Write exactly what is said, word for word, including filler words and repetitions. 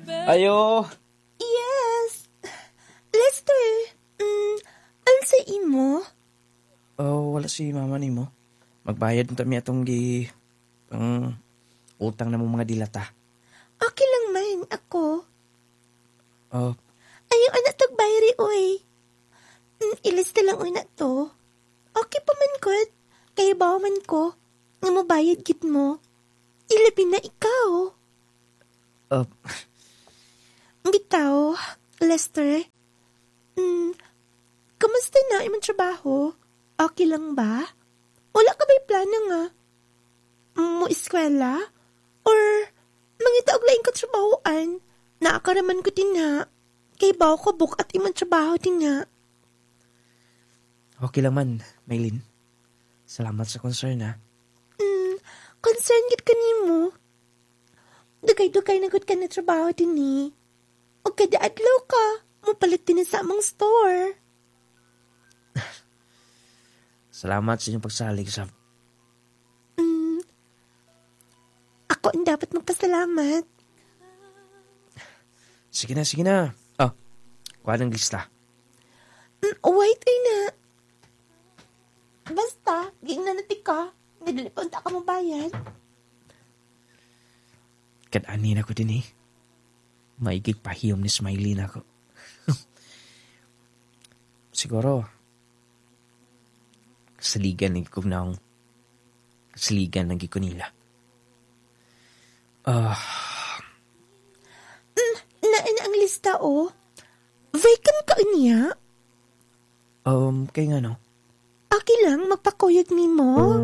Ayo. Yes. Lester, mm, unsa imo? Oh, wala si mama nimo. Magbayad unta mi atong gi ang utang na mong mga dilata. Okay lang man ako. Oh, Ayaw ana tog bayri oy. Mm, ilista lang oy na to. Okay pa man gud. Kay bawo man ko. Nga mobayad gid mo. Ilabi na ikaw. oh, Bitaw, Lester. Mm, kamusta na imong trabaho? Okay lang ba? Wala ka ba'y plano nga? Mo eskwela? Or mangita og laing katrabahoan? Naakaraman ko din ha. Kay bawo ko buk-at imong trabaho din nga. okay lang man, Maylin. Salamat sa concern ha. Mm, concern gid ka nimo. Dugay-dugay na gud ka na trabaho din eh. O kada adlaw ka, mopalit din sa among store. Salamat sa inyong pagsalig sa Mm, ako ang dapat magpasalamat. Sige na, sige na. Oh, kuha ng lista. Mm, wait ay na. Basta, giingnan na ka. Nadali pa unta ka mo bayad. Kad-ani na ko din eh. Maigig pahiyom ni Smiley na ako. Siguro, kasaligan ng ko na kasaligan ng ko nila. Ah, Naa na ang lista, oh. Vacant ka niya? um, kay nga no? Okay lang, magpakuyog nimo.